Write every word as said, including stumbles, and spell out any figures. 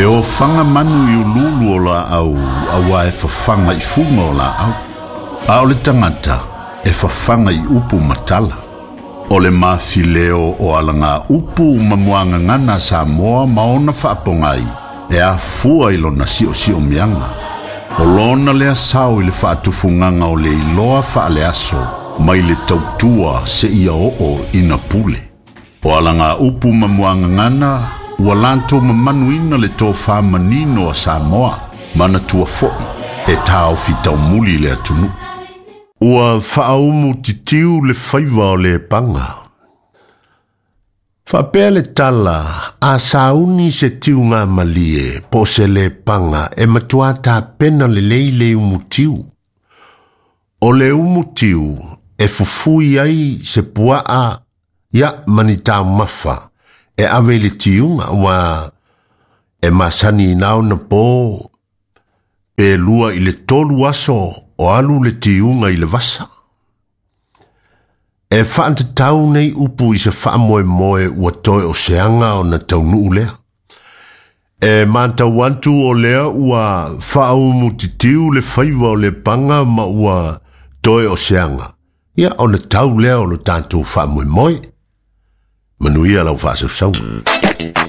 E ofaga manu i uluulu o laau auā e fafaga i fuga o laau. A o le tagata e fafaga i upu ma tala. O le mafileo o alaga upu ma muagagana a Samoa ma ona faapogai e afua i lona siosiomiaga. O lona lea sao i le faatufugaga o le iloa faaleaso mai le tautua seia oo ina pule. O alaga upu ma muagagana ua latou mamanuina le tofā manino a Samoa manatua fo'i e taofi taumuli le atunuu. Ua faaumu titiu le faiva o le paga. Faapea le tala a sauni se tiuga malie po o se lepaga e matuā tapena lelei le umutiu. O le umutiu e fufui ai se puaa ia ma ni taumafa e ave i le tiuga ua e masani ina ona po pe lua i le tolu aso o alu le tiuga i le vasa. E faatatau nei upu i se faamoemoe ua toe o se aga ona taunuu lea. E matau atu o lea ua faaumutitiu le faiva o le paga ma ua toe o se aga. Ia ona tau lea o lo tatou faamoemoe. Manuia lau faasausauga.